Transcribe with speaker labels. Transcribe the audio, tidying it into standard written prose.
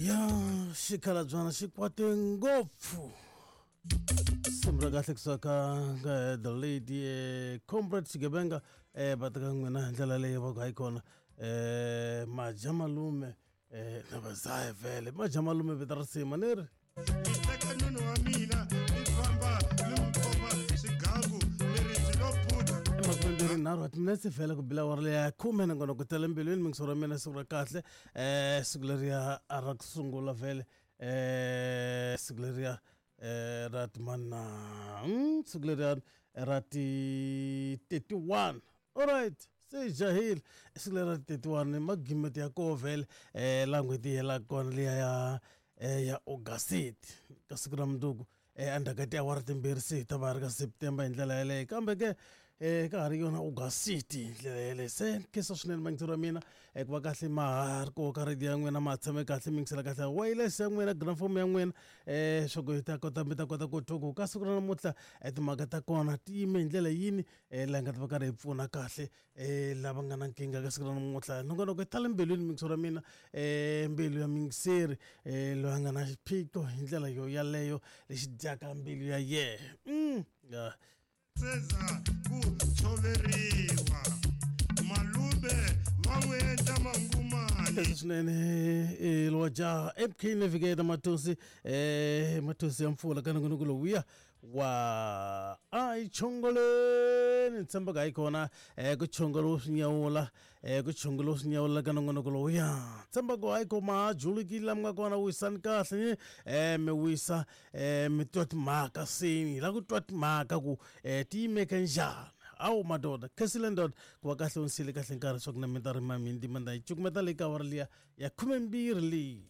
Speaker 1: Ya xikhalabyana xi kwate ngopfu. Simu ra kahle kusuka ka the lady comrade Xigevenga va teka n'wina hi ndlela leyi va ku hayi kona maja malume na vazaye vhele maja malume vito ra risima ni ri
Speaker 2: Ni teka nunu wa mina ni famba ni n'wi komba xigangu leri byi lo phutha.
Speaker 1: Emakumembirhi nharhu wa timinetse vhele ku bila awara leya khume nongonoko tele mbilwini mingiso ra mina siku ra kahle siku leriya a ra ku sungula vhele siku leriya ra timana siku leriya ra ti 31 alright se jahile siku leri ra ti 31 magimeti ya koho vhele laha n'hweti yi helaka kona liya ya ya August ka siku ra mundzuku endzhaku ka tiawara timbirhi se hi ta va ri ka September hi ndlela yeleyo kambe ke ka ha ri yona August hi ndlela yeleyo se khensa swinene vayingiseri va mina ku va kahle ma ha ri koho ka radio ya n'wina ma ha tshame kahle mi yingisela kahle wireless ya n'wina gramophone ya n'wina swa ku hi ta kota mi ta kota ku twa ku ka siku ra namuntlha timhaka ta kona ti yime hi ndlela yini laha hi nga ta va karhi hi pfuna kahle lava nga na nkingha ka siku ra namuntlha nongonoko ta le mbilwini mingiso ra mina mbilu ya muyingiseri loyi a nga na xiphiqo hi ndlela yo yaleyo lexi dyaka mbilu ya yena ya.
Speaker 2: Seza ku tshoveriwa malume va n'wi endla mangumani.
Speaker 1: Leswi swinene lowa jaha MK Navigator Matosi Matosi ya mpfula ka nongonoko lowuya wa a hi chongoleni ni tshemba ka hi kona ku chongolo swi nyawula ku chongolo swi nyawula ka nongonoko lowuya tshemba ku hayi ko ma ha julukile la mi nga kona wisani kahle mi wisa mi twa timhaka seni hi lava ku twa timhaka ku ti yimeke njhani awu madoda khensile ndoda ku va kahle u ni siyile kahle nkarhi swa ku na mi ta rima mi ndima nda yi cukumeta leyi ka awara liya ya khumembirhi leyi.